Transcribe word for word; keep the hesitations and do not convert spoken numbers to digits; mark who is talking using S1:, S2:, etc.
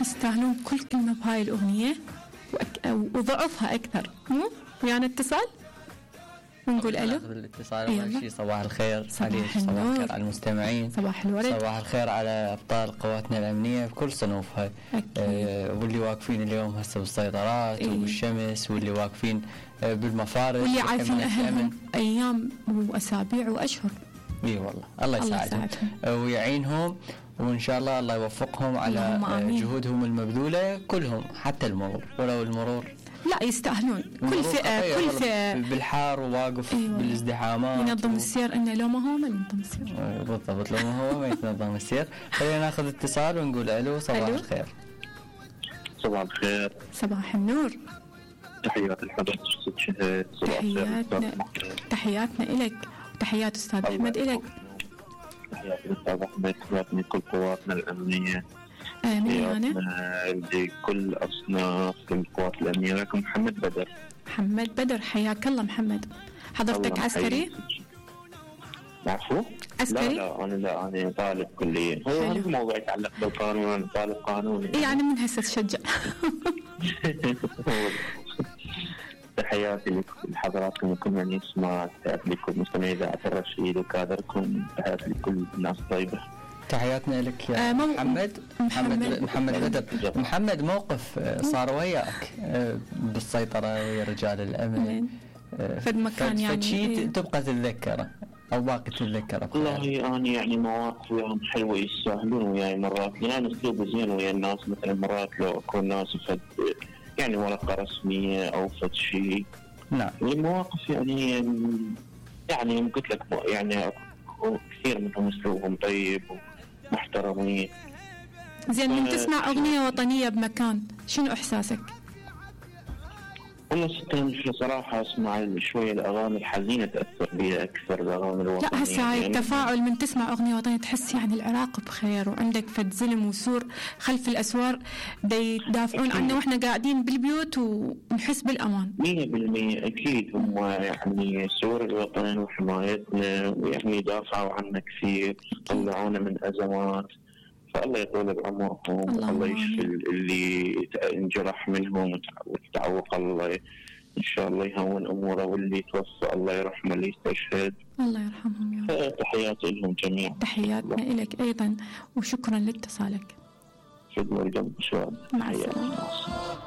S1: يستاهلون كل كلمة بهاي الأغنية وأك... وضعفها أكثر. مو ويانا اتصال ونقول ألو.
S2: الاتصال أول شيء صباح الخير
S1: صباح
S2: عليك، صباح الخير على المستمعين،
S1: صباح الورد،
S2: صباح الخير على أبطال قواتنا الأمنية بكل صنوفها. آه واللي واقفين اليوم هسه بالسيطرات
S1: إيه؟
S2: والشمس، واللي واقفين آه بالمفارق،
S1: واللي عارفين أهلهم أيام وأسابيع وأشهر.
S2: اي والله الله يساعدهم ويعينهم، وإن شاء الله الله يوفقهم على جهودهم المبذولة كلهم، حتى المرور ولو المرور
S1: لا يستاهلون كل فئة كل فئة
S2: بالحار وواقف أيوة. بالازدحامات
S1: ينظم و... السير إنه لو ما هو ما ينظم السير.
S2: بالضبط، لو ما هو ما ينظم السير. خلينا ناخذ اتصال ونقول ألو. صباح ألو. الخير.
S3: صباح الخير.
S1: صباح النور.
S3: تحيات لحضرتك ست شهد.
S1: تحياتنا تحياتنا إلك وتحيات أستاذ أحمد إلك.
S3: تحياتي للأستاذ أحمد، تحياتنا لكل قواتنا الأمنية.
S1: آمين.
S3: لكل أصناف القوات الأمنية. لكم محمد بدر.
S1: محمد بدر حياك الله محمد. حضرتك عسكري؟
S3: عفوا؟
S1: عسكري؟
S3: لا لا أنا لا أنا طالب كلية. هو هذا الموضوع يتعلق بالقانون، أنا طالب قانوني.
S1: يعني من هسه تشجع.
S3: تحياتي لحضراتكم وكل من يسمع، تحياتي لكل مستمعي إذاعة الرشيد وكادركم، تحياتي لكل الناس الطيبة.
S2: تحياتنا لك يا آه محمد. محمد محمد بدر. محمد موقف صار وياك بالسيطرة ويا رجال الأمن
S1: في المكان، يعني
S2: فشي تبقى تتذكره أو باقي تتذكره؟
S3: والله أنا يعني مواقف وياهم حلوة يستاهلون وياي مرات، لأن أسلوبي زين ويا الناس. مثلا مرات لو أكون ناس فد يعني ورقة رسمية أو فد شيء.
S2: نعم.
S3: المواقف يعني يعني قلت لك يعني كثير منهم أسلوبهم طيب محترمين.
S1: زين، من تسمع أغنية وطنية بمكان شنو إحساسك؟
S3: والله ستة صراحة أسمع شوية الأغاني الحزينة تأثر بي أكثر الأغاني الوطنية.
S1: لا هسه هاي التفاعل من تسمع أغنية وطنية تحس يعني العراق بخير وعندك فد زلم وسور خلف الأسوار يدافعون عنا وإحنا قاعدين بالبيوت ونحس بالأمان.
S3: مية بالمية أكيد هم يعني سور الوطن وحمايتنا، ويعني يدافعوا عنا كثير، طلعونا من أزمات. فالله يطول بعمرهم، الله يشفي اللي انجرح منهم وتعوق، الله إن شاء الله يهون أموره، واللي توفى الله يرحمه، اللي يستشهد
S1: الله يرحمهم يا رب.
S3: تحياتي لهم جميعا.
S1: تحياتنا إلك أيضا وشكرا لاتصالك.
S3: شكرا جدا.
S1: مع السلامة.